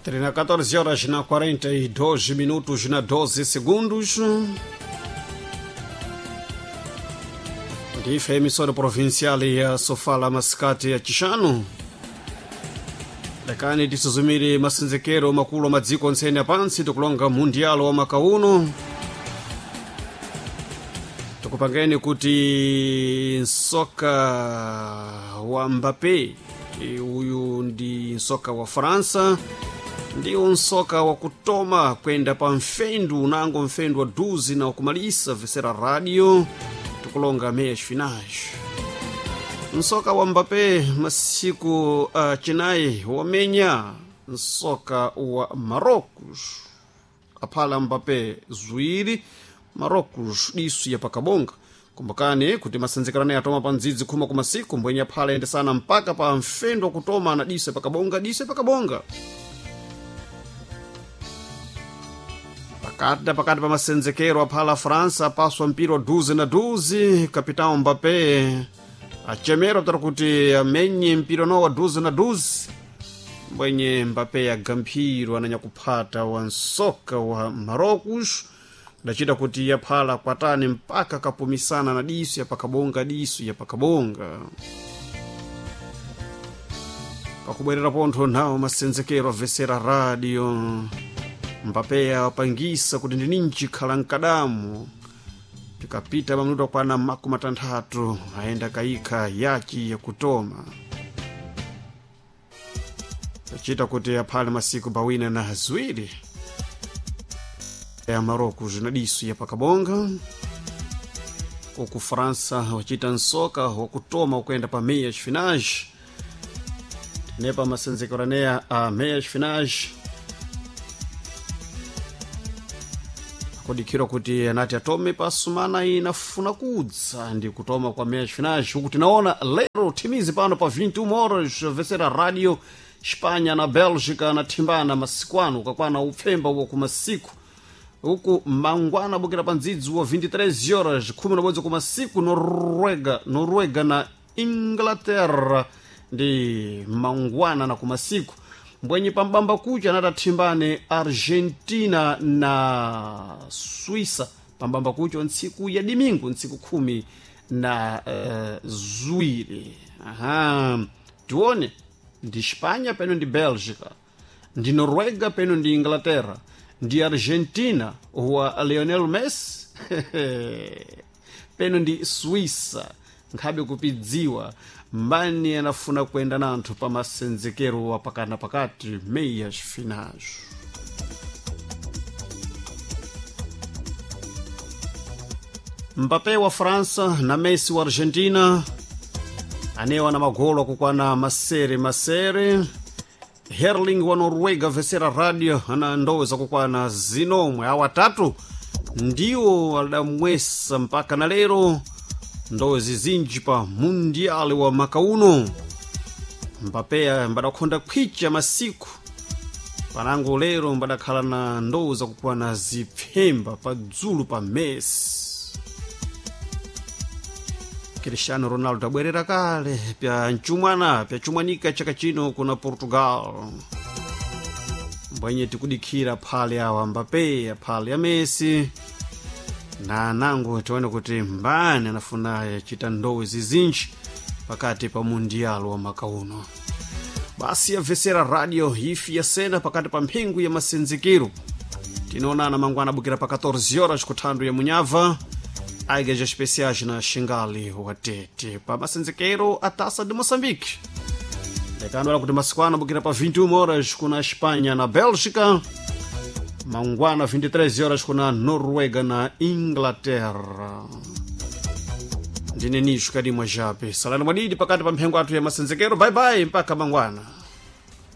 Trina 14 horas na 42 minutos na 12 segundos. Ndife emissora provincial ya Sofala Masikati ya Chixano. Dakani tisuzumire masenzekero makulu a madziko ontsene apansi tikulonga mundialo wa maka uno. Tikupangeni kuti nsoka wa Mbappé, uyu ndi nsoka wa França, ndiwo nsoka wa kutoma kwenda pa mfendu unango mfendu wa duzi na wakumalisa vesera radio tikulonga meias finais. Nsoka wa Mbappé masiku chinayi wamenya nsoka wa Marocos. Aphala Mbappé ziwiri, Marocos disu ya pakabonga. Kumbukani kuti masenzekano atoma pa ndzidzi khuma ku masiku mbwenye aphala ayendesana mpaka pa mfendu wa kutoma na disu ya pakabonga, disu ya pakabonga. Pakati na pakati pa masenzekero aphala França apaswa mpira wa duzi na duzi, kapitão Mbappé achemera kutara kuti amenye mpira no wa duzi na duzi. Mbwenye Mbappé agamphiro ananyakuphata wa nsoka wa Marocos ndachita kuti yaphala kwatani mpaka kapumisana na disu ya pakabonga, disu ya pakabonga. Pakubwerera pontho nawo masenzekero avesera radio Mbappé awapangisa kuti ndininji khala mkadamu. Tikapita mamutu akwana makumi atanthatu ayenda kayikha yachi yakutoma tachita kuti aphale masiku pawina na ziwiri ya Marocos na disu ya pakabonga. Uku França wachita nsoka wakutoma ukuyenda pa meias finais, nepa masenzekero a meias finais akudikhirwa kuti anati atome pa sumana inafuna kudza ndi kutoma kwa meias finais. Uku tinaona lero thimizi pano pa 21 horas vesera radio Espanha na Bélgica na thimbana masiku ano ukakwana upfemba uwo kumasiku uku mangwana abukira pa ndzidzi wa 23 horas 11 kumasiku Noruega na Inglaterra ndi mangwana na kumasiku mbwenye pambamba kucha anatathimbane Argentina na Suíça pambamba kucha ntsiku ya dimingu ntsiku khumi na ziwiri. Aha, tione ndi Espanha peno ndi Bélgica, ndi Noruega peno ndi Inglaterra, ndi Argentina wa Lionel Messi peno ndi Suíça. Nkhabe kupidziwa mbani anafuna kuyenda nanthu pa masenzekero wa pakati na pakati meias finais. Mbappé wa França na Messi wa Argentina anewa na magolo akukwana masere masere. Herling wa Noruega vesera radio ana ndowe zakukwana zinomwe. Awa atatu ndiwo adamwesa mpaka na lero ndowe zizinji pa mundiali wa maka uno. Mbappé mbadakhonda khwicha masiku panango lero mbadakhala na ndowe zakukwana zipfemba padzulu pa Messi. Cristiano Ronaldo abwerera kale pya mchumwana pyachumwanika chaka chino kuna Portugal. Mbwenye tikudikhira phale awa Mbappé aphale ya Messi na anango tione kuti mbani anafuna chita ndowe zizinji pakati pa mundialo wa maka uno. Basi yabvesera radio ifi yasena pakati pa mphengo ya masenzekero. Tinoonana mangwana abukira pa 14 horas kuthandu ya Munyava aigeja especiais na Xingali watete pa masenzekero a Taça de Moçambique. Lekano kuti masiku ano abukira pa 21 horas kuna Espanha na Bélgica, mangwana 23 horas kuna Noruega na Inglaterra. Ndine nisho kadimwa jape salani mwadidi pakati pa mphengo athu ya masenzekero. Bye bye mpaka mangwana.